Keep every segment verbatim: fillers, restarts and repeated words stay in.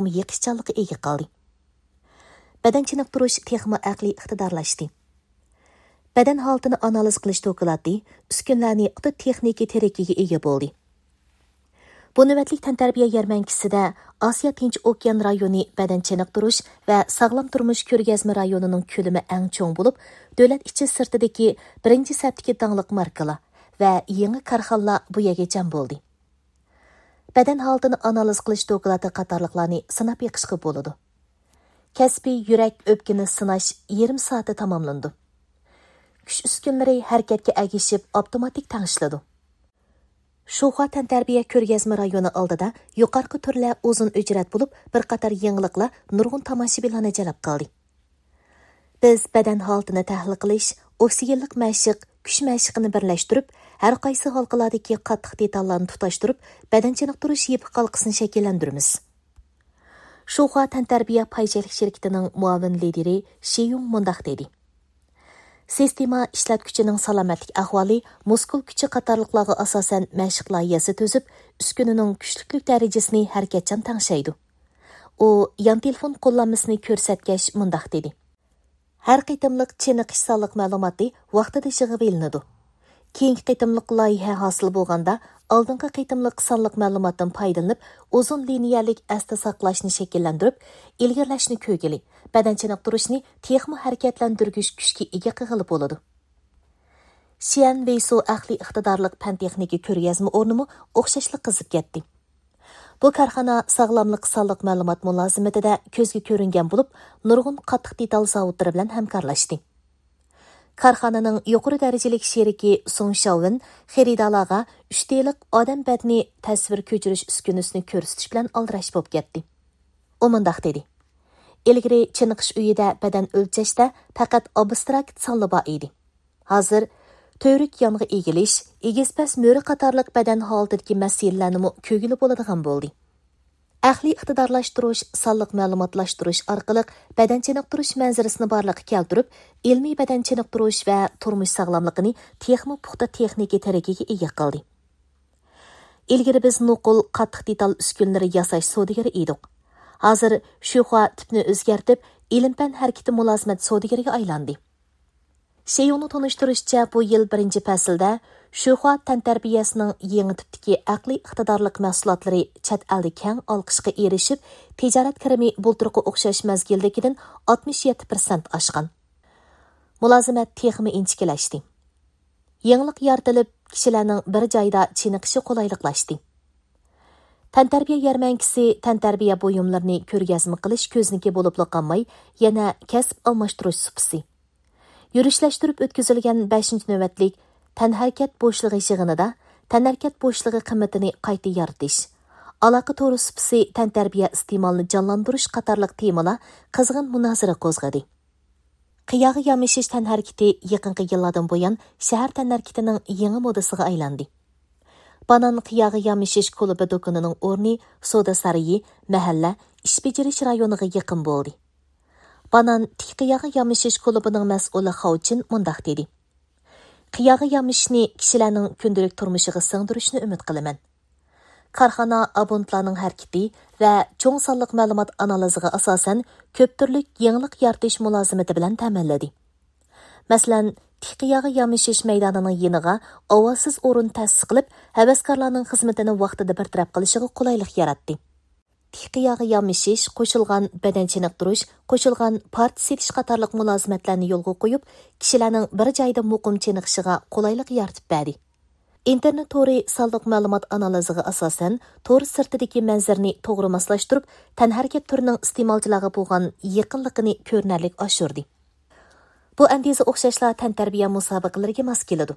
يېقىشچانلىققا ئىگە قىلدى. بەدەن چېنىقتۇرۇش تېخىمۇ ئەقلىي ئىقتىدارلاشتى. بەدەن ھالىتىنى ئانالىز قىلىش دوكلاتى ئۈسكۈنىلەرنى پۇختا تېخنىكا تىرىكىگە ئىگە بولدى. بۇ نۆۋەتلىك تەنتەربىيە يەرمەنكىسىدە ئاسىيا تىنچ ئوكيان رايونى بەدەن چېنىقتۇرۇش ۋە ساغلام تۇرمۇش كۆرگەزمە رايونىنىڭ كۆلىمى ئەڭ چوڭ بولۇپ، دۆلەت ئىچى سىرتىدىكى بىرىنچى سەپتىكى داڭلىق ماركىلار ۋە يېڭى كارخانىلار بۇ يەرگە جەم بولدى. بەدەن ھالىتىنى ئانالىز قىلىش دوكلاتى قاتارلىقلارنى سىناپ بېقىشقا بولىدۇ. كەسپىي يۈرەك، ئۆپكىنى سىناش يېرىم سائەتتە تاماملىنىدۇ. كۈچ ئۈسكۈنىلىرى ھەرىكەتكە ئەگىشىپ ئاپتوماتىك تەڭشىلىدۇ. شۇخۇا تەنتەربىيە كۆرگەزمە رايونى ئالدىدا يۇقىرىقى تۈرلەر ئۇزۇن ئۆچرەت بولۇپ، بىر قاتار يېڭىلىقلار نۇرغۇن تاماشىبىنلارنى جەلپ قىلدى. بىز بەدەن ھالىتىنى تەھلىل قىلىش، ئوكسىگېنلىق مەشىق، كۈچ مەشىقىنى بىرلەشتۈرۈپ، ھەر قايسى ھالقىلارىكى قاتتىق دېتاللارنى تۇتاشتۇرۇپ، بەدەن چېنىقتۇرۇش يىپىك ھالقىسىنى شەكىللەندۈرىمىز. شۇخۇا تەنتەربىيە پاي چەكلىك شىركىتىنىڭ مۇئاۋىن لىدىرى شى يۇڭ مۇنداق دېدى: سىستېما ئىشلەتكۈچىنىڭ سالامەتلىك ئەھۋالى، مۇسكۇل كۈچى قاتارلىقلارغا ئاساسەن مەشىق لايىھەسى تۈزۈپ، ئۈسكۈنىنىڭ كۈچلۈكلۈك دەرىجىسىنى ھەرىكەتچان تەڭشەيدۇ. ئۇ يان تېلېفون قوللانمىسىنى كۆرسەتكەچ مۇنداق دېدى: ھەر قېتىملىق چېنىقىش سانلىق مەلۇماتى ۋاقتىدا يىغىۋېلىنىدۇ. كېيىنكى قېتىملىق لايىھە ھاسىل بولغاندا، ئالدىنقى قېتىملىق سانلىق مەلۇماتتىن پايدىلىنىپ، ئۇزۇن لىنىيەلىك ئەستە ساقلاشنى شەكىللەندۈرۈپ، ئىلگىرىلەشنى كۆرگىلى، بەدەن چېنىقتۇرۇشنى تېخىمۇ ھەرىكەتلەندۈرگۈچ كۈچكە ئىگە قىلغىلى بولىدۇ. شيەن ۋېيسۇ ئەقلىي ئىقتىدارلىق پەن تېخنىكا كۆرگەزمە ئورنىمۇ ئوخشاشلا قىزىپ كەتتى. بۇ كارخانا ساغلاملىق سانلىق مەلۇمات مۇلازىمىتىدە كۆزگە كۆرۈنگەن بولۇپ، نۇرغۇن قاتتىق دېتال زاۋۇتلىرى بىلەن ھەمكارلاشتى. كارخانىنىڭ يۇقىرى دەرىجىلىك شېرىكى سۇڭ شياۋېن خېرىدارلارغا ئۈچ دېلىق ئادەم بەدىنى تەسۋىر كۆچۈرۈش ئۈسكۈنىسىنى كۆرسىتىش بىلەن ئالدىراش بولۇپ كەتتى. ئۇ مۇنداق دېدى: ئىلگىرى چېنىقىش ئۆيىدە بەدەن ئۆلچەشتە پەقەت ئابستراكت سانلا بار ئىدى. ھازىر تۈۋرۈك يانغا ئېگىلىش، ئېگىز پەس مۈرە قاتارلىق بەدەن ھالىتىدىكى مەسىلىلەرنىمۇ كۆرگىلى بولىدىغان بولدى. ئەقلىي ئىقتىدارلاشتۇرۇش، سانلىق مەلۇماتلاشتۇرۇش ئارقىلىق بەدەن چېنىقتۇرۇش مەنزىرىسىنى بارلىققا كەلتۈرۈپ، ئىلمىي بەدەن چېنىقتۇرۇش ۋە تۇرمۇش ساغلاملىقىنى تېخىمۇ پۇختا تېخنىكا تىرىكىگە ئىگە قىلدى. ئىلگىرى بىز نوقۇل قاتتىق دېتال ئۈسكۈنىلىرى ياساش سودىگىرى ئىدۇق. ھازىر شۇخۇا تىپنى ئۆزگەرتىپ، ئىلىم-پەن ھەرىكىتى مۇلازىمەت سودىگىرىگە ئايلاندى. شيۇڭنىڭ تونۇشتۇرۇشىچە، بۇ يىل بىرىنچى پەسىلدە شۇخۇا تەنتەربىيەسىنىڭ يېڭى تىپتىكى ئەقلىي ئىقتىدارلىق مەھسۇلاتلىرى چەت ئەلدە كەڭ ئالقىشقا ئېرىشىپ، تىجارەت كىرىمى بۇلتۇرقى ئوخشاش مەزگىلدىكىدىن ئاتمىش يەتتە پىرسەنت ئاشقان. مۇلازىمەت تېخىمۇ ئىنچىكىلەشتى. يېڭىلىق يارىتىلىپ، كىشىلەرنىڭ بىر جايدا چېنىقىشى قولايلىقلاشتى. تەنتەربىيە يەرمەنكىسى تەنتەربىيە بۇيۇملىرىنى كۆرگەزمە قىلىش كۆزنىكى بولۇپلا قالماي، يەنە كەسىپ ئالماشتۇرۇش سۇپىسى. يۈرۈشلەشتۈرۈپ ئۆتكۈزۈلگەن بەشىنچى نۆۋەتلىك تەنھەرىكەت بوشلۇقى يىغىنىدا تەنھەرىكەت بوشلۇقى قىممىتىنى قايتا يارىتىش، ئالاقە تورى سۇپىسى، تەنتەربىيە ئىستېمالىنى جانلاندۇرۇش قاتارلىق تېمىلار قىزغىن مۇنازىرە قوزغىدى. قىياغا يامىشىش تەنھەرىكىتى يېقىنقى يىللاردىن بۇيان شەھەر تەنھەرىكىتىنىڭ يېڭى مودىسىغا ئايلاندى. بانان قىياغا يامىشىش كۇلۇبى دۇكىنىنىڭ ئورنى سودا سارىيى، مەھەللە، ئىش بېجىرىش رايونىغا يېقىن بولدى. بانان تىك قىياغا يامىشىش كۇلۇبىنىڭ مەسئۇلى خاۋچىن مۇنداق دېدى: قىياغا يامىشىشنى كىشىلەرنىڭ كۈندىلىك تۇرمۇشىغا سىڭدۈرۈشنى ئۈمىد قىلىمەن. كارخانا ئابونتلارنىڭ ھەرىكىتى ۋە چوڭ سانلىق مەلۇمات ئانالىزىغا ئاساسەن، كۆپ تۈرلۈك يېڭىلىق يارىتىش مۇلازىمىتى بىلەن تەمىنلىدى. مەسىلەن، تىك قىياغا يامىشىش مەيدانىنىڭ يېنىغا ئاۋازسىز ئورۇن تەسىس قىلىپ، ھەۋەسكارلارنىڭ خىزمىتىنى ۋاقتىدا بىر تەرەپ قىلىشىغا قولايلىق ياراتتى. تىك قىياغا يامىشىش، قوشۇلغان بەدەن چېنىقتۇرۇش، قوشۇلغان پارچە سېتىش قاتارلىق مۇلازىمەتلەرنى يولغا قويۇپ، كىشىلەرنىڭ بىر جايدا مۇقىم چېنىقىشىغا قولايلىق يارىتىپ بەردى. ئىنتېرنېت تورى سانلىق مەلۇمات ئانالىزىغا ئاساسەن، تور سىرتىدىكى مەنزىرىنى توغرا ماسلاشتۇرۇپ، تەنھەرىكەت تۈرىنىڭ ئىستېمالچىلارغا بولغان يېقىنلىقىنى كۆرۈنەرلىك ئاشۇردى. بۇ ئەندىزە ئوخشاشلا تەنتەربىيە مۇسابىقىلىرىگە ماس كېلىدۇ.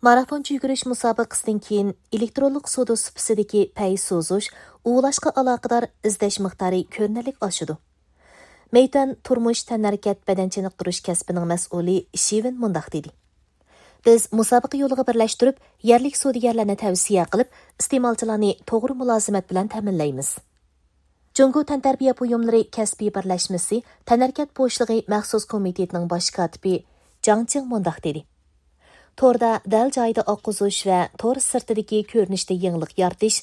مارافونچە يۈگۈرۈش مۇسابىقىسىدىن كېيىن ئېلېكترونلۇق سودا سۇپىسىدىكى پەي سوزۇش، ئۇۋۇلاشقا ئالاقىدار ئىزدەش مىقدارى كۆرۈنەرلىك ئاشىدۇ. مەيتۈەن تۇرمۇش تەنھەرىكەت بەدەن چېنىقتۇرۇش كەسپىنىڭ مەسئۇلى شىۋېن مۇنداق دېدى: بىز مۇسابىقە يولىغا بىرلەشتۈرۈپ، يەرلىك سودىگەرلەرنى تەۋسىيە قىلىپ، ئىستېمالچىلارنى توغرا مۇلازىمەت بىلەن تەمىنلەيمىز. جۇڭگو تەنتەربىيە بۇيۇملىرى كەسپىي بىرلەشمىسى تەنھەرىكەت بوشلۇقى مەخسۇس كومىتېتىنىڭ باش كاتىپى جاڭ چىڭ مۇنداق دېدى: توردا دەل جايىدا ئاققۇزۇش ۋە تور سىرتىدىكى كۆرۈنۈشتە يېڭىلىق يارىتىش